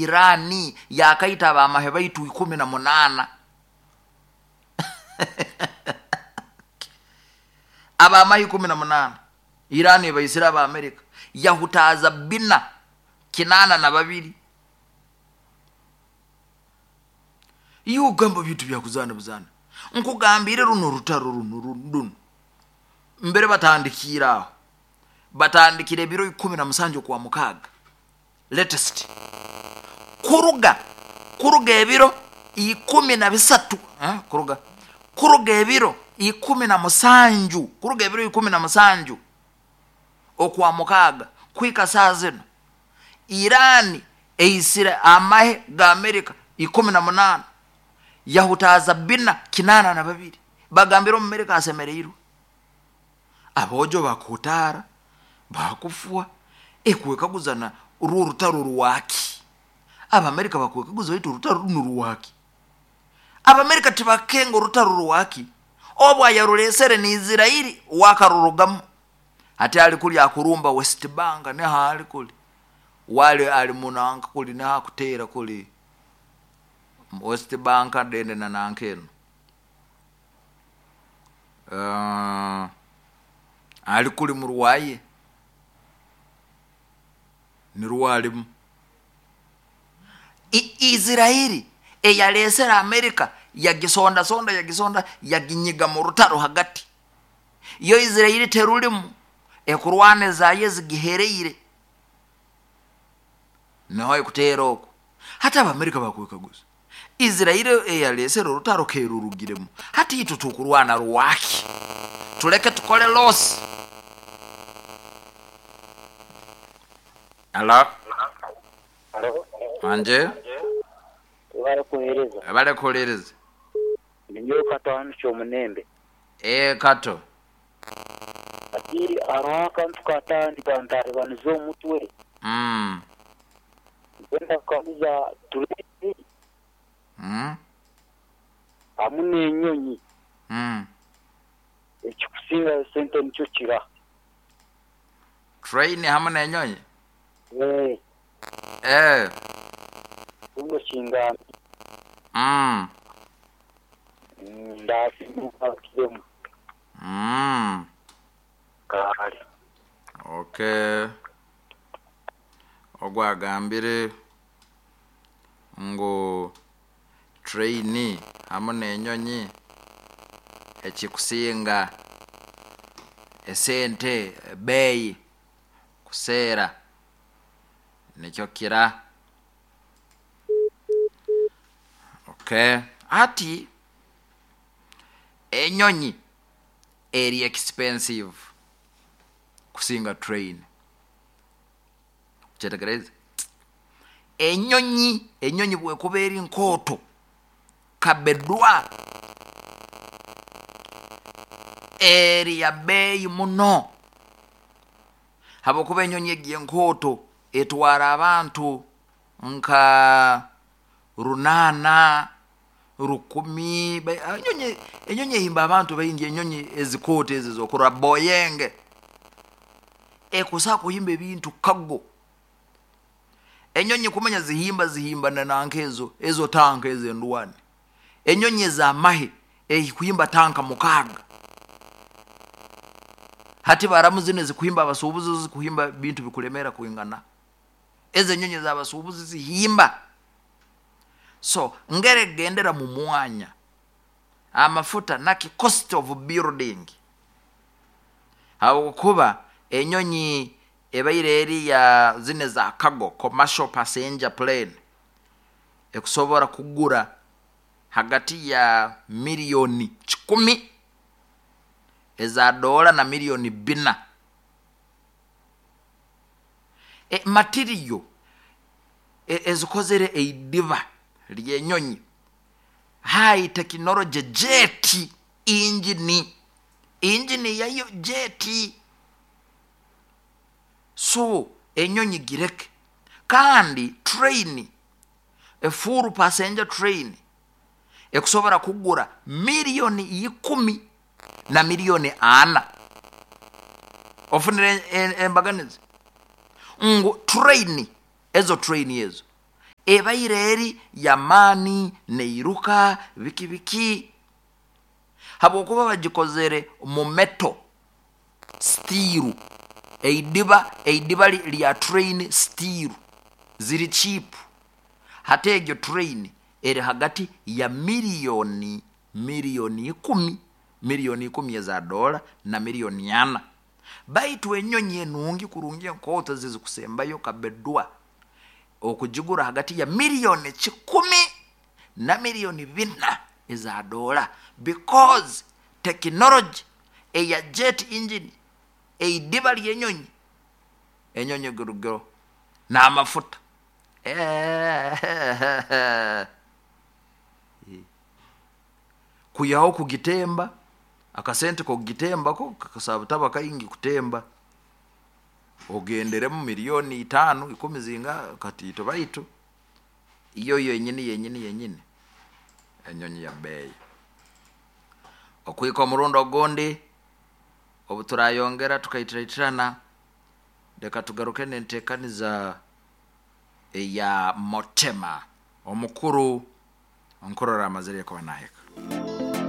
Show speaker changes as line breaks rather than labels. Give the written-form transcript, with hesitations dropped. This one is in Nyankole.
Iran yakaita abamahe baitu 18. Abamahe 18 Iran ebaisire aba America yahutaaza bina 82. Iwe ogamba bintu bya kuzaana buzaana. Nkugambire runo orutaro runo runo mbere batandikiire aho. Batandikire ebiro 17 okwa mukaaga latest kuruga kuruga ebiro 13 kuruga kuruga ebiro 17 kuruga ebiro 17 okwa mukaaga kuhika saaha zinu Iran eisire amahe ga America 18 yahutaaza bina 82 bagambire omumerika asemereirwe. Aboojo bakuhutaara, baakufwa, ekwekaguza na orwo orutaro rwaki? Abamerika bakwekaguza baitu orutaro runu rwaki? Abamerika tibakenga orutaro rwaki, obu ayarureesere ni Israeli wakarurugamu. Hati ali kuli akurumba West Bank niho ali kuli, wali ali munanka kuli niho akuteera kuli West Bank dende na nanka enu. Ali kuli mu rwaye, nirwo alimu. Israeli eyaleesere Amerika yagisondasonda yagisonda yaginyiga mu rutaro hagati. Yo Israeli terulimu, ekurwana ezaayo ezigihereire. Niho ekuteera oku. Hati Abamerika bakwekaguza, Israeli eyalesere orutaro kerurugiremu, hati itwe tukurwana rwaki? Tuleke tukole loss. Halo.
Halo.
Wangye.
Webale kuhereza.
Webale kuhuliriza.
Ninyowe Kato hanu Kyomunembe.
Ee Kato.
Hati hariho akantu katandika ntaribaniza omutwe. Nkwenda kukaguza tureeni hamu n'enyonyi ekikusingayo sente nikyo kira?
Train hamu n'enyonyi?
Ee.
Ee.
Mbwenu okingambire. Ndaasiima ongarukiremu. Kale.
Okay. Ogu agambire ngu train hamu n'enyonyi ekikusinga esente ebeeyi kuseera nikyo kira. Okay. Hati enyonyi eri expensive kusinga train. Okyetegereize? Enyonyi, enyonyi bwekuba eri nkooto kabedwa, eri ya beeyi muno habwokuba enyonyi egi enkooto etwara abantu nka runaana, rukumi, enyonyi, enyonyi ehimba abantu baingi, enyonyi ezikooto ezi ezokurora Boeing ekusobola kuhimba ebintu cargo. Enyonyi kumanya zihimba zihimba na nanka ezo, ezo tanka ezo endwani. Enyonyi ez'amahe ehikuhimba tanka mukaaga. Hati baramu zinu ezikuhimba abasuubuzi zo zikuhimba bintu bikulemeera kwingana. Ezo enyonyi ez'abasuubuzi zihimba. So ngeri egendera mu mwanya, amafuta naki cost of building habwokuba enyonyi ebaire eri ya zinu eza cargo, commercial passenger plane, ekusobora kugura hagati ya miriyoni kikumi eza doola na miriyoni bbina. Material ezikozere eidiba ry'enyonyi, high technology jet engine, engine yayo jet. So enyonyi gireke. Kandi train, a full passenger train ekusobora kugura miriyoni ikumi na miriyoni ana. Ofunire embaganiza? Ngu train, ezo train ezo. Ebaire eri y'amaani neiruka biki biki habwokuba bagikozere mu metal steel eidiba eidiba lya train steel ziri cheap hati egyo train eri hagati ya miliyoni miliyoni ikumi miliyoni ikumi eza dola na miliyoni ana baitu enyonyi enungi kurungi enkooto ezikusembayo kabedwa okugigura hagati ya miliyoni kikumi na miliyoni bina eza dola because tekinology eya jet engine eidiba ly'enyonyi enyonyi egurugiro n'amafuta kwihaho kugitemba akasente k'okugitembako kakasaba kaingi kutemba ogenderemu miliyoni itaano ikumi zinga katiito baitu iyo yenyini yenyini yenyini enyonyi ya beeyi okwika omurundi ogundi obu turayongera tukaitiraitirana leka tugaruke n'enteekaniza eya motema omukuru nkurora amazire kuba nahika.